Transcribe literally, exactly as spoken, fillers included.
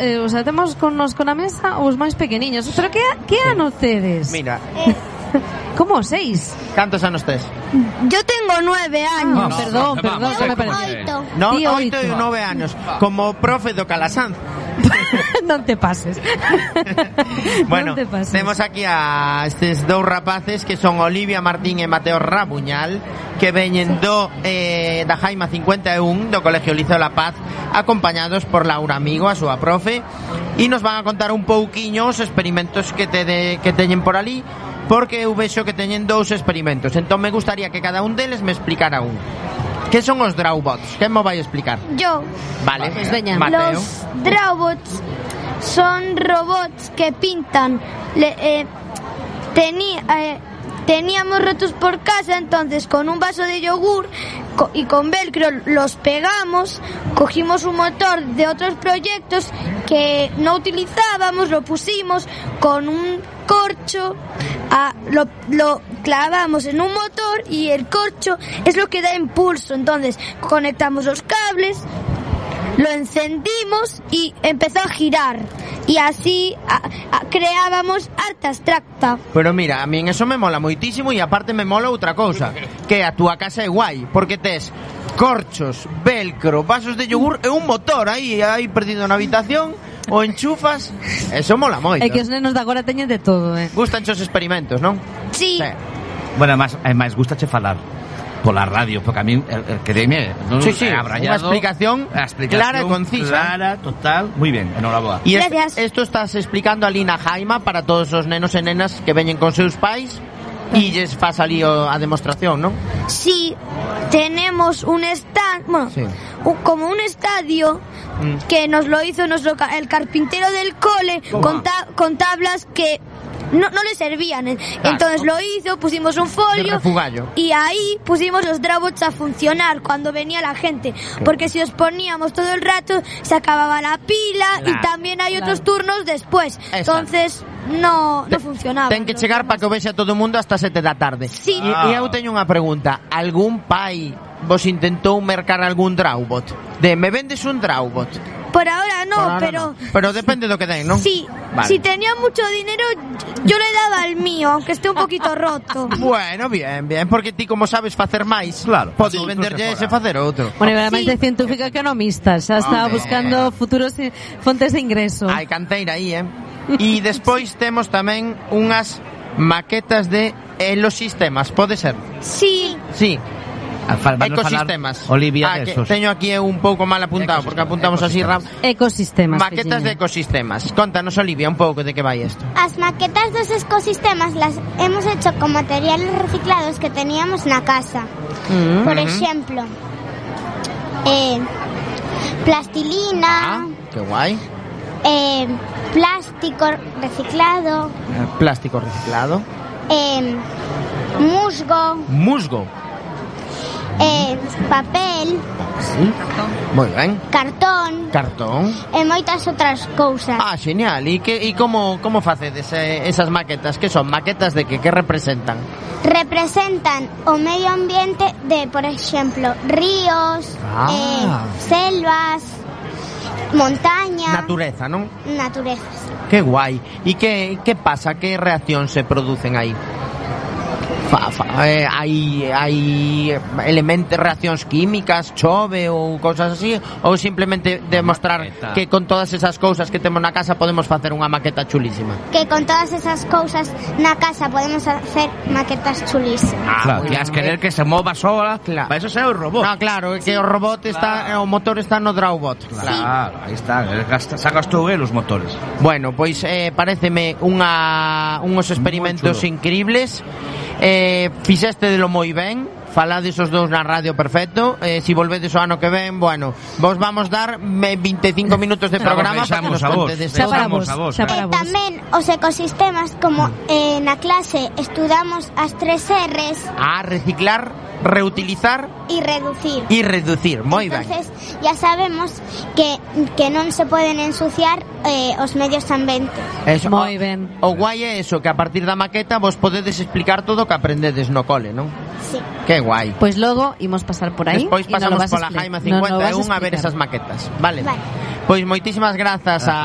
eh, o sea, temos con nos con a mesa os máis pequeniños. Pero que que ano tedes? Mira. Como seis? Cantos anos tes? Yo tengo nueve años. No, no, perdón, no, perdón, vamos, me parece. Oito. No, Tío, oito e oito. nove años. Como profe do Calasanz. Non te pases. Bueno, Non te pases. temos aquí a estes dous rapaces que son Olivia Martín e Mateo Rabuñal, que veñen do eh, da Jaima cincuenta e un do Colegio Liceo La Paz, acompañados por Laura Amigo, a súa profe, e nos van a contar un pouquiño os experimentos que te de, que teñen por ali, porque eu vexo que teñen dous experimentos. Entón me gustaría que cada un deles me explicara un. Que son os Drawbots? Quen mo vai explicar? Yo. Vale, Pues veña. Mateo. Los Drawbots son robots que pintan. Le, eh, tení, eh, teníamos rotos por casa, entonces con un vaso de yogur co- y con velcro los pegamos, cogimos un motor de otros proyectos que no utilizábamos, lo pusimos con un corcho, a, lo, lo clavamos en un motor y el corcho es lo que da impulso. Entonces conectamos los cables, lo encendimos y empezó a girar, y así a, a, creábamos arte abstracta. Pero mira, a min eso me mola moitísimo, e aparte me mola outra cousa, que a túa casa é guai, porque tes corchos, velcro, vasos de yogur e un motor aí, aí perdido na habitación, o enchufas, eso mola moito. É que os nenos de agora teñen de todo, eh. Gustan os experimentos, non? Sí, Sí. Bueno, además, además gustache falar pola radio, porque a mí el, el quedeme, non Sí, sí, abrallado, unha explicación a explicación clara e concisa. Clara, total, moi ben, enhoraboa. E es- Gracias. esto estás explicando ali na Jaima para todos os nenos e nenas que veñen con seus pais e lles faz ali o- a demostración, non? sí, tenemos un stand, bueno, Sí. un- como un estadio Mm. que nos lo hizo nuestro ca- el carpintero del cole con, ta- con tablas que no, no le servían. Entonces lo hizo, pusimos un De folio refugallo. y ahí pusimos los Drawbots a funcionar cuando venía la gente, porque si os poníamos todo el rato se acababa la pila, Claro, y también hay otros claro. turnos después. Exacto. Entonces no, no funcionaba. Ten que chegar para que o vexa todo o mundo hasta sete da tarde. Sí. E, e eu teño unha pregunta. Algún pai vos intentou mercar algún Drawbot? De, me vendes un Drawbot? Por ahora no, Por ahora pero... no. Pero depende do que den, non? Sí, Vale. si tenía mucho dinero, yo le daba el mío, aunque esté un poquito roto. Bueno, bien, bien, porque ti como sabes facer máis, Claro, podes sí, venderlle outros ese de fora. facer outro. Bueno, e ademais Sí. de científica economista, xa está Hombre. buscando futuros i- fontes de ingreso. Hai canteira aí, eh? E despois temos tamén unhas maquetas de elosistemas, pode ser? Sí, Sí, Alfa- vanos ecosistemas. falar, Olivia, ah, de que esos. teño aquí un pouco mal apuntado, porque apuntamos así rap. Ecosistemas. Maquetas de Virginia. ecosistemas. Contanos, Olivia, un pouco de que vai isto. As maquetas dos ecosistemas las hemos hecho con materiales reciclados que teníamos na casa. Mm. Por exemplo, eh, plastilina, Ah, que guai. eh, plástico reciclado, Eh, Plástico reciclado. eh, musgo, Musgo. eh, papel, Sí. Moi ben. cartón Cartón. e moitas outras cousas. Ah, genial. E que e como como facedes eh, esas maquetas? Que son maquetas de que que representan? Representan o medio ambiente de, por exemplo, ríos, Ah. eh, selvas, montaña, Natureza, non? naturezas. Que guai. E que que pasa? Que reaccións se producen aí? Fa, fa, eh, hai hai elementos, reaccións químicas, chove ou cousas así, ou simplemente demostrar Maqueta. que con todas esas cousas que temos na casa podemos facer unha maqueta chulísima. Que con todas esas cousas na casa podemos hacer maquetas chulísimas. Ah, Claro, moi que has ben. querer que se mova sola, Claro. para eso será o robot. No, claro, é que o robot está, Claro. o motor está no Drawbot. Claro, aí está, el gasta, sacas tú el, os motores. Bueno, pois eh, pareceme unha unhos experimentos Moi chulo. increíbles. Eh, fixeste de lo moi ben. Falades os dous na radio perfecto. Eh, si volvedes o ano que ven, bueno, vos vamos dar me- veinticinco minutos de programa para que nos Deixamos a vos. contedes Xa todo. para Vamos vos, a vos, xa eh. para E vos. tamén os ecosistemas, como eh, na clase estudamos as tres R's, A reciclar, reutilizar y reducir. e reducir. Moi ben. Entonces ya sabemos que, que non se poden ensuciar eh, os medios ambientes. Eso, Moi o- ben. O guai é eso, que a partir da maqueta vos podedes explicar todo o que aprendedes no cole, non? Sí. Que guai. Pois logo imos pasar por aí. Despois e nos lo pasamos vas a pola expli- Jaima nos lo cincuenta e vas un a ver explicar. esas maquetas. Vale. Vale. Pois moitísimas grazas a